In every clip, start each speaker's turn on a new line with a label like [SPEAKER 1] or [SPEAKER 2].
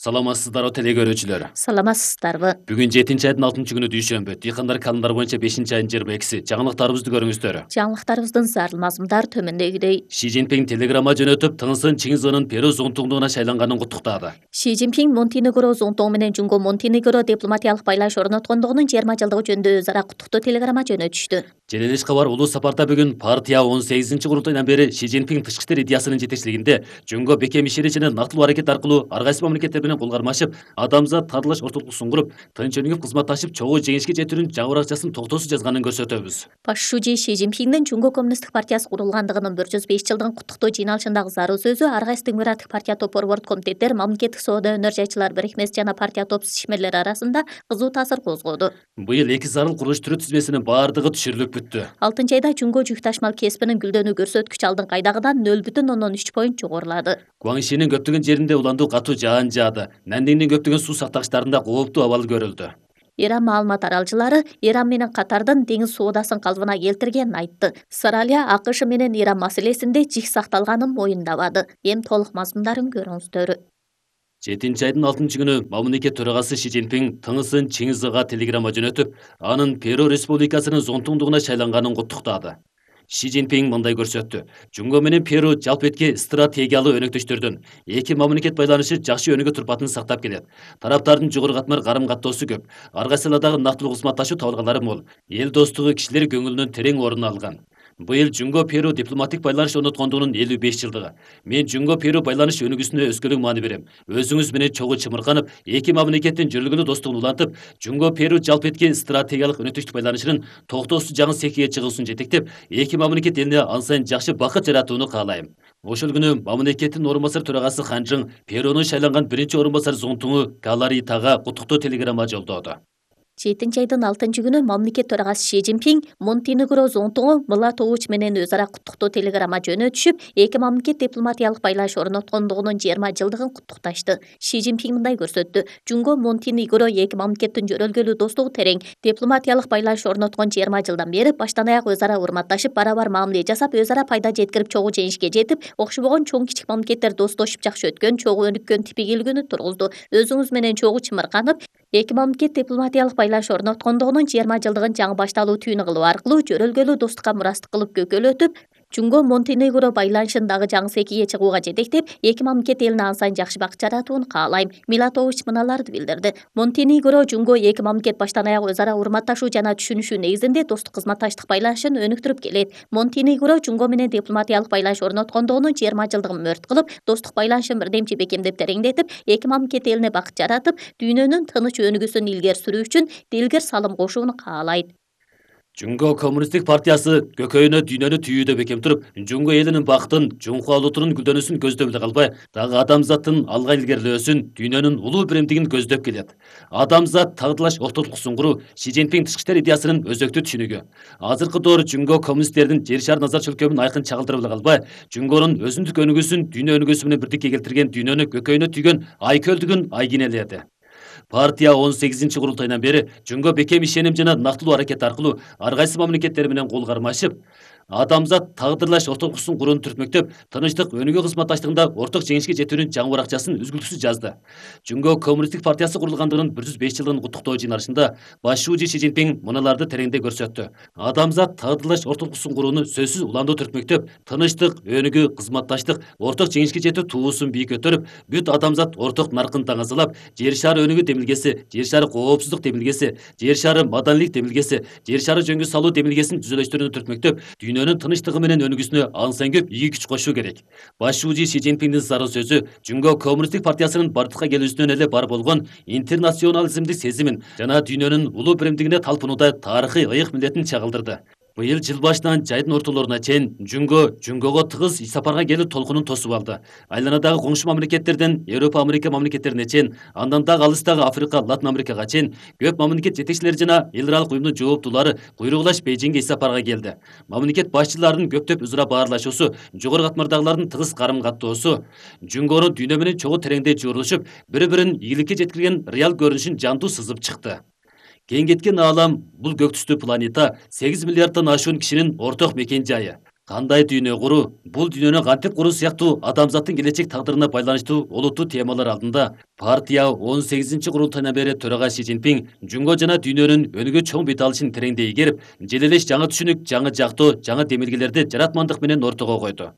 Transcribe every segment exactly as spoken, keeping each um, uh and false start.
[SPEAKER 1] Саламатсыздарбы телекөрүүчүлөр.
[SPEAKER 2] Саламатсыздарбы.
[SPEAKER 1] Бүгүн жетинчи айдын алтынчы күнү дүйшөмбү. Дыйкандар календар боюнча бешинчи айдын жыйырма экиси. Жаңылыктарыбызды көрүңүздөр.
[SPEAKER 2] Жаңылыктарыбыздын зарыл мазмундар төмөндөгүдөй.
[SPEAKER 1] Ши Цзиньпин телеграмма жөнөтүп, Тыңсын Чыңгызынын Перу зонтугуна шайланганын куттуктады.
[SPEAKER 2] Ши Цзиньпин Монтенегро зонтугу менен Жунго Монтенегро дипломатиялык байланыш орноткондугунун жыйырма жылдыгы жөнүндө өз ара куттуктоо телеграмма жөнөтүштү.
[SPEAKER 1] Желелеш кабар улуу сапарда бүгүн партия он сегизинчи курултайынан бери Ши Цзиньпин тышкы иштер идеясынын жетекчилигинде Жунго бекем ишери жана нактылуу аракет аркылуу ар кайсы мамлекеттер менен кол кармашып, адамзат таардылаш ортолуксун куруп, тынч өнүгүп кызматташып, чогуу жеңишке жетүүнүн жаңы баракчасын токтоосуз жазганын көрсөтөбүз.
[SPEAKER 2] Башчы Ши Цзиньпиндин Жунго коммунисттик партиясы курулгандыгынын бир жүз беш жылдыгын куттуктоо жыйналышындагы зарыл сөзү ар кайсы демократик партия топор борт комитеттер, мамлекеттик соода өнөр жайчылар бирикмеси жана партия топсуз ишмерлери арасында кызуу таасир козгоду.
[SPEAKER 1] Быйыл эки зарыл курулуш түрү тизмесинин баардыгы түшүрүлүп бүттү.
[SPEAKER 2] алтынчы айда Жунго жүк ташмал кесипинин гүлдөнүү көрсөткүчү алдыңкы айдагыдан нөл бүтүн ондон үч поинт жогорулады.
[SPEAKER 1] Гуаңшинин көптөгөн жеринде уландуу катуу жаан жаады. Нандиңдин көптөгөн суу сактагычтарында кооптуу абал көрүлдү.
[SPEAKER 2] Иран маалымат аралчылары Иран менен Катардын деңиз соодасын калыбына келтиргенин айтты. Саралия АКШ менен Иран маселесинде жик сакталганын моюндабады. Эми толук мазмундарын көрүңүздөр.
[SPEAKER 1] жетинчи айдын алтынчы күнү мамлекет төрагасы Ши Цзиньпин Тыңсын Чыңгызга телеграмма жөнөтүп, анын Перу республикасынын зонтугуна шайланганын куттуктады. Ши Цзиньпин мындай көрсөттү. Жунго менен Перу жалпы этки стратегиялуу өнөктөштөрдөн эки мамлекет байланышы жакшы өнүгө турпатын сактап келет. Тараптардын жогору катмар карым каттоосу көп. Ар кайсыладагы нактылуу кызматташуу табылгалары мол. Эл достугу кишилер көңүлүнөн терең орун алган. Быйыл Жунго Перу дипломатик байланыш орноткондугунун элүү беш жылдыгы. Мен Жунго Перу байланыш өнүгүүсүнө өскөлүк маани берем. Өзүңүз менен чогуу чымырканып, эки мамлекеттин жөрөлгөлүү достугун улантып, Жунго Перу жалпы этки стратегиялык өнөктөштүк байланышынын токтоосуз жаңы секиге чыгуусун жетектеп, эки мамлекет элине ан сайын жакшы бакыт жаратууну каалайм. Ошол күнү мамлекеттин орун басар төрагасы Ханжың Перунун шайланган биринчи орун басар зонтугу Галаритага куттуктоо телеграмма жолдоду.
[SPEAKER 2] жетинчи айдын алтынчы күнү мамлекет төрагасы Ши Цзиньпин Монтенегро зонтугу Млатович менен өз ара куттуктоо телеграмма жөнөтүшүп, эки мамлекет дипломатиялык байланыш орноткондугунун жыйырма жылдыгын куттукташты. Ши Цзиньпин мындай көрсөттү. Жунго Монтенегро эки мамлекеттин жөрөлгөлүү достугу терең. Дипломатиялык байланыш орноткон жыйырма жылдан бери баштан аяк өз ара урматташып, бара-бар мамиле жасап, өз ара пайда жеткирип, чогуу жеңишке жетип, окшобогон чоң кичик мамлекеттер достошуп жакшы өткөн, чогуу өнүккөн типигилигүнү тургузду. Өзүңүз менен чогуу чымырканып, эки мамлекет дипломатиялык байланыш орноткондугунун жыйырма жылдыгын жаңы башталуу түйүн кылуу аркылуу жөрөлгөлүү достукка мурастык кылып көкөлөтүп, Жунго Монтенегро байланышын дагы жаңы секиге чыгууга жетектеп, эки мамлекет элине ан сайын жакшы бакыт жаратууну каалайм. Милатович мыналарды билдирди. Монтенегро Жунго эки мамлекет баштан аяк өз ара урматташуу жана түшүнүшүү негизинде достук кызматташтык байланышын өнүктүрүп келет. Монтенегро Жунго менен дипломатиялык байланыш орноткондугунун жыйырма жылдыгын мөрт кылып, достук байланышын бирдемчи бекемдеп тереңдетип, эки мамлекет элине бакыт жаратып, дүйнөнүн тыныч өнүгүүсүн илгери сүрүү үчүн дилгер салым кошууну каалайт.
[SPEAKER 1] Жунго коммунисттик партиясы көкөйүнө дүйнөнү түйүүдө бекем туруп, Жунго элинин бактын, Жунхуа улутунун гүлдөнүүсүн көздөп эле калбай, дагы адамзаттын алга илгерилөөсүн, дүйнөнүн улуу биримдигин көздөп келет. Адамзат тагдылаш ортолуксун куруу Ши Цзиньпин тышкы иштер идеясынын өзөктүү түшүнүгү. Азыркы доор Жунго коммунисттердин жер шаар назар чөлкөмүн айкын чагылдырып эле калбай, Жунгонун өзүндүк өнүгүүсүн дүйнө өнүгүүсү менен бирдикке келтирген, дүйнөнү көкөйүнө түйгөн айкөлдүгүн айгинеледи. Партия он сегизинчи курултайынан бери Жунго бекем ишеним жана нактылуу аракет аркылуу ар кайсы мамлекеттер менен кол кармашып, адамзат тагдырлаш ортолуксун курууну түртмөктөп, тынычтык өнүгүү кызматташтыгында орток жеңишке жетүүнүн жаңы баракчасын үзгүлтүксүз жазды. Жунго коммунисттик партиясы курулгандыгынын бир жүз беш жылдыгын куттуктоо жыйналышында башчы Ши Цзиньпин мыналарды тереңдей көрсөттү. Адамзат тагдырлаш ортолуксун курууну сөзсүз уламдуу түртмөктөп, тынычтык өнүгүү кызматташтык орток жеңишке жетүү туусун бийик көтөрүп, бүт адамзат орток наркын таңазалап, жер шары өнүгүү демилгеси, жер шары коопсуздук демилгеси, жер шары маданилик демилгеси, жер шары жөнгө салуу демилгесин түзөлөштөрүнү түртмөктөп, дүйнөнүн тынычтыгы менен өнүгүүсүнө ан сайын көп ийги күч кошуу керек. Башчы Ши Цзиньпиндин зарыл сөзү Жунго коммунисттик партиясынын бардыкка келүүсүнөн эле бар болгон интернационализмдик сезимин жана дүйнөнүн улуу биримдигине талпынууда тарыхый ыйык милдетин чагылдырды. Быйыл жыл башынан жайдын ортолоруна чейин Жунго Жунгого тыгыз иш сапарга келүү толкунун тосуп алды. Айланадагы коңшу мамлекеттерден Европа, Америка мамлекеттерине чейин, андан дагы алыстагы Африка, Латын Америкага чейин көп мамлекет жетекчилери жана эл аралык уюмдун жооптуулары буйругулаш Бейжиңге иш сапарга келди. Мамлекет башчыларынын көптөп өзара баарлашуусу, жогору катмардагылардын тыгыз карым каттоосу Жунгону дүйнө менен чогуу тереңдей жуурулушуп, бири-бирин ийгиликке жеткирген реал көрүнүшүн жандуу сызып чыкты. Кең кеткен аалам бул көк түстүү планета сегиз миллиардтан ашуун кишинин орток мекен жайы. Кандай дүйнө куруу, бул дүйнөнү кантип куруу сыяктуу адамзаттын келечек тагдырына байланыштуу олуттуу темалар алдында партия он сегизинчи курултайынан бери төрага Си Цзиньпин жунго жана дүйнөнүн өнүгүү чоң бет алышын тереңдей игерип, желелеш жаңы түшүнүк, жаңы жактоо, жаңы демилгелерди жаратмандык менен ортого койду.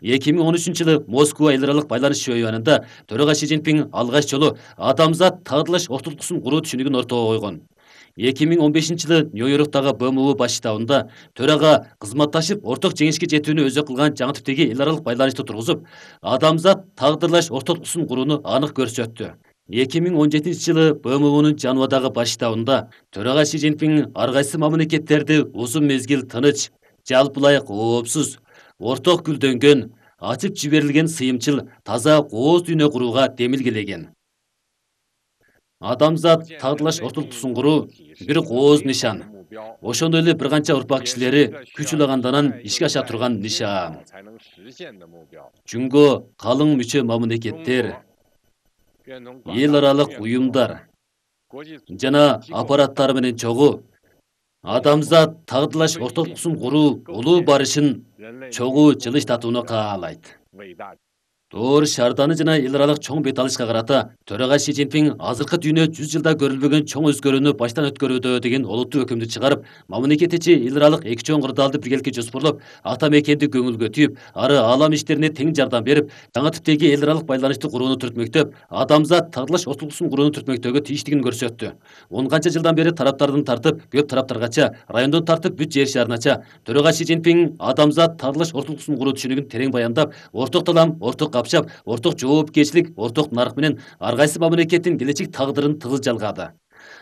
[SPEAKER 1] эки миң он үчүнчү жылы Москва эл аралык байланыш чөйгөнүндө төрага Си Цзиньпин алгач жолу адамзат тагдырлаш ортолукчусун куруу түшүнүгүн ортого койгон. эки миң он бешинчи жылы Нью-Йорктагы Б М У баш штабында төрага кызматташып орток жеңишке жетүүнү өзү кылган жаңы типтеги эл аралык байланышты тургузуп, адамзат тагдырлаш ортолукчусун курууну анык көрсөттү. эки миң он жетинчи жылы Б М Унун Женевадагы баш штабында төрага Си Цзиньпин ар кайсы мамлекеттерди узун мезгил тыныч, жалпылай коопсуз, орток гүлдөнгөн, ачып жиберилген сыйымчыл, таза кооз дүйнө курууга демилгелеген. Адамзат тагдырлаш ортолукчусун куруу бир кооз нишан. Ошондой эле бир канча урпак кишилери күч улагандан ишке аша турган нишан. Жунго калың мүчө мамлекеттер, эл аралык уюмдар жана аппараттар менен чогуу адамзат тагдырлаш ортолукчусун куруу улуу барышын чогуу жылыштатууну каалайт. Тоор шаарданы жана эл аралык чоң бет алышка карата төрага Си Цзиньпин азыркы дүйнө жүз жылда көрүлбөгөн чоң өзгөрүүнү баштан өткөрүүдө деген олуттуу өкүмдү чыгарып, мамлекет ичи эл аралык эки чоң кырдаалды биргеликке жоспорлоп, ата мекенди көңүлгө тийип, ары аалам иштерине тең жардам берип, жаңы типтеги эл аралык байланышты курууну түртмөктөп, адамзат тагдырлаш ортолукчусун курууну түртмөктөгө тийиштигин көрсөттү. он канча жылдан бери тараптардын тартып, көп тараптаргача, райондон тартып бүт жер шарынача төрага Си Цзиньпин адамзат тагдырлаш ортолукчусун куруу түшүнүгүн терең баяндап, орток талам, орток капчап, орток жоопкерчилик, орток нарк менен ар кайсы мамлекеттин келечек тагдырын тыгыз жалгады.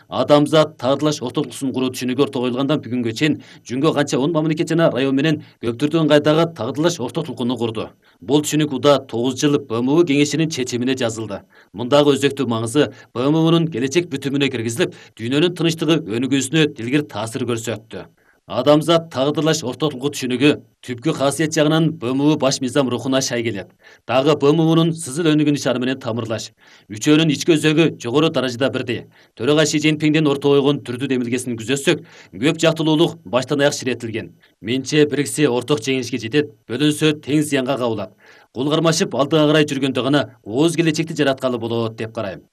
[SPEAKER 1] Адамзат тагдырлаш ортолукчусун куруу түшүнүгү ортого коюлгандан бүгүнгө чейин жунго канча он мамлекет жана район менен көп түрдүү ыңгайдагы тагдырлаш ортолукуну курду. Бул түшүнүк уда тогуз жыл Б М У кеңешинин чечимине жазылды. Мындагы өзөктүү маңызы Б М Унун келечек бүтүмүнө киргизилип, дүйнөнүн тынычтыгы өнүгүүсүнө дилгир таасир көрсөттү. Адамзат тагдырлаш ортолугу түшүнүгү түпкү касиет жагынан Б М У баш мыйзам рухуна шай келет. Дагы Б М Унун сызыл өнүгүү нишаны менен тамырлаш. Үчөөнүн ички өзөгү жогору даражада бирдей. Төрага Си Цзиньпиндин ортого койгон түрдүү демилгесин күзөтсөк, көп жактылуулук баштан аяк ширетилген. Менче бириксе орток жеңишке жетет, бөлүнсө тең зыянга кабылат. Кол кармашып алдыга карай жүргөндө гана кооз келечекти жараткалы болот деп карайм.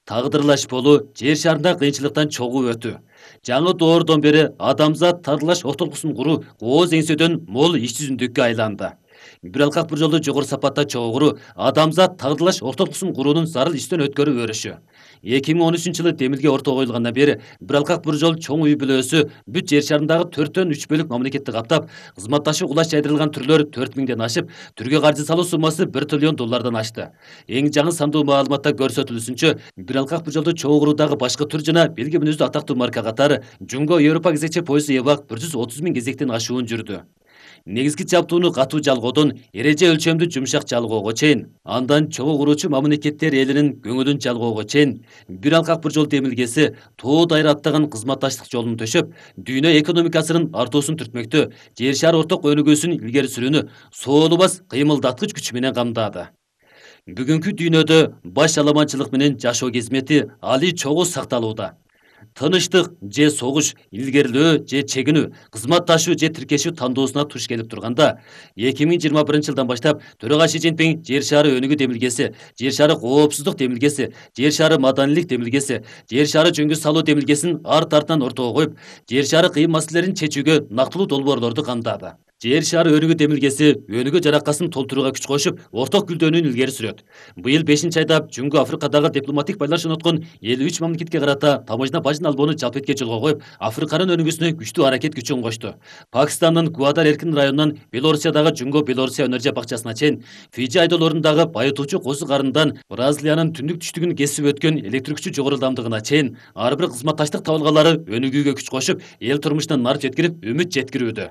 [SPEAKER 1] Тагдырлаш болуу жер шарында кыйынчылыктан чогуу өтүү. Жаңы доордон бери адамзат тагдырлаш ортолукчусун куруу кооз эңсөдөн мол иш жүзүндүккө айланды. Бир алкак бир жолду жогору сапатта чогуу куруу адамзат тагдырлаш ортолукчусун куруунун зарыл иштен өткөрүү өрүшү. эки миң он үчүнчү жылы демилге ортого коюлгандан бери бир алкак бир жол чоң үй бүлөөсү бүт жер шарындагы төрттөн үч бөлүк мамлекетти каптап, кызматташуу кулач жайдырылган түрлөр төрт миңден ашып, түргө каржы салуу суммасы бир триллион доллардан ашты. Эң жаңы сандуу маалыматта көрсөтүлүшүнчө, бир алкак бир жолду чогуу куруудагы башкы түр жана белги мүнөздүү атактуу марка катары Жунго Европа кезекче поезду Эбак бир жүз отуз миң кезектен ашуун жүрдү. Негизги жабдууну катуу жалгоодон эреже өлчөмдүү жумшак жалгоого чейин, андан чогуу куруучу мамлекеттер элинин көңүлүн жалгоого чейин бир алкак бир жол демилгеси тоо дайыр аттаган кызматташтык жолун төшөп, дүйнө экономикасынын артуусун түртмөктө, жер шаар орток өнүгүүсүн илгери сүрүүнү соолубас кыймылдаткыч күч менен камдады. Бүгүнкү дүйнөдө баш аламанчылык менен жашоо кезмети али чогуу сакталууда. Тыныштык же согуш, илгерилөө же чегинүү, кызматташуу же тиркешүү тандоосуна туш келип турганда, эки миң жыйырма биринчи жылдан баштап төрага Си Цзиньпин жер шаары өнүгүү демилгеси, жер шаары коопсуздук демилгеси, жер шаары маданилик демилгеси, жер шаары жөнгө салуу демилгесин арт артынан ортого коюп, жер шаары кыйын маселелерин чечүүгө нактылуу долбоорлорду камдады. Жер шаары өнүгүү демилгеси өнүгүү жаракасын толтурууга күч кошуп, орток гүлдөнүүнү илгери сүрөт. Быйыл бешинчи айда Жунго Африкадагы дипломатик байланыш орноткон элүү үч мамлекетке карата таможня бажын албоону жалпетке жолго коюп, Африканын өнүгүүсүнө күчтүү аракет күчүн кошту. Пакистандын Гуадар эркин районунан Белоруссиядагы Жунго Белоруссия өнөр бакчасына чейин, Фиджи айдолорундагы байытуучу козу карындан Бразилиянын түндүк түштүгүн кесип өткөн электр күчү жогору ылдамдыгына чейин ар бир кызматташтык табылгалары өнүгүүгө күч кошуп, эл турмушуна нар жеткирип, үмүт жеткирүүдө.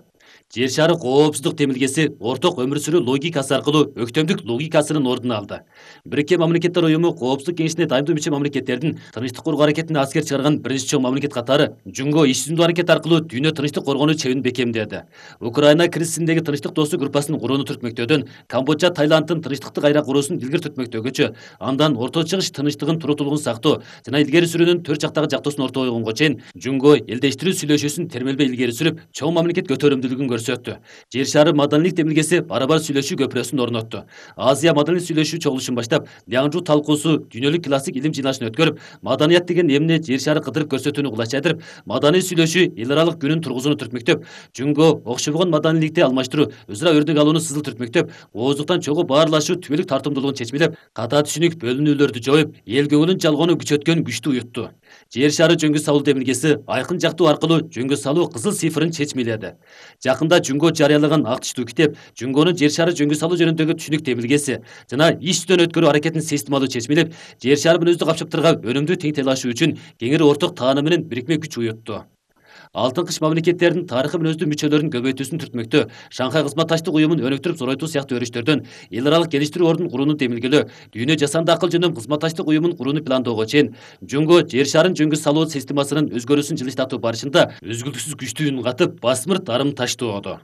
[SPEAKER 1] Жер шаары коопсуздук демилгеси орток өмүр сүрүү логикасы аркылуу өктөмдүк логикасынын ордун алды. Бириккен мамлекеттер уюму коопсуздук кеңешине дайымдуу мүчө мамлекеттердин тынычтык коргоо аракетине аскер чыгарган биринчи чоң мамлекет катары Жунго иш жүзүндүү аракет аркылуу дүйнө тынычтык коргонуу чебин бекемдеди. Украина кризисиндеги тынычтык достук группасын курууну түртмөктөөдөн Камбоджа Таиланддын тынычтыкты кайра куруусун илгери түртмөктөгөчө, андан Орто Чыгыш тынычтыгын туруктуулугун сактоо жана илгери сүрүүнүн төрт жактагы жактоосун ортого койгонго чейин Жунго элдештирүү сүйлөшүүсүн термелбей илгери сүрүп, чоң мамлекет көтөрүмдүүлүгүн көрсөттү. Жер шары маданийлик демилгеси барабар сүйлөшүү көпүрөсүн орнотту. Азия маданий сүйлөшүү чогулушун баштап, Лиаңжу талкуусу дүйнөлүк классик илим жыйналышын өткөрүп, маданият деген эмне жер шары кыдырып көрсөтүүнү кулачайдырып, маданий сүйлөшүү эл аралык күнүн тургузууну түртмөктөп, жөнгө окшобогон маданийликти алмаштыруу, өзара өрнөк алууну сызыл түртмөктөп, ооздуктан чогуу баарлашуу түбөлүк тартымдуулугун чечмелеп, ката түшүнүк бөлүнүүлөрдү жоюп, эл көңүлүн жалгоону күчөткөн күчтүү уютту. Жер шары жөнгө салуу демилгеси айкын жактоо аркылуу жөнгө салуу кызыл цифрын чечмеледи. Жакында Жөнгө жарыялаган ак түштүү китеп жөнгөнүн жер шары жөнгө салуу жөнүндөгү түшүнүк демилгеси жана иштен өткөрүү аракетин системалуу чечмелеп, жер шары менен өздүк капчыктарга өнүмдүү тең тейлашуу үчүн кеңири орток тааны менен бирикме күч уютту. Алтын кыш мамлекеттердин тарыхы менен өздүк мүчөлөрүн көбөйтүүсүн түртмөктө, Шанхай кызматташтык уюмун өнүктүрүп зоройтуу сыяктуу өрүштөрдөн эл аралык келиштирүү ордун курууну демилгелөө, дүйнө жасанды акыл жөнүндө кызматташтык уюмун курууну пландоого чейин жөнгө жер шарын жөнгө салуу системасынын өзгөрүүсүн жылыштатуу барышында үзгүлтүксүз күчтүү үн катып, басмырт арым таштоодо.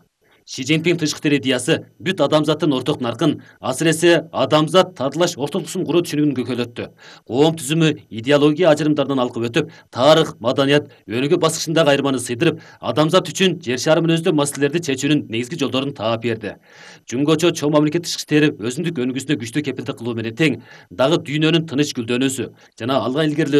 [SPEAKER 1] Ши Цзиньпин тышкы идеясы бүт адамзаттын орток наркын, асыресе адамзат татыйлаш ортолуксун куруу түшүнүгүн көкөйлөттү. Коом түзүмү идеология ажырымдарынан алкып өтүп, тарых, маданият, өнүгүү баскычындагы айырманы сыйдырып, адамзат үчүн жер шары менен өздөө маселелерди чечүүнүн негизги жолдорун таап берди. Жөнгөчө чоң мамлекет тышкы иштери өзүндүк өнүгүүсүнө күчтүү кепилдик кылуу менен тең, дагы дүйнөнүн тынч гүлдөнүүсү жана алга илгерилөө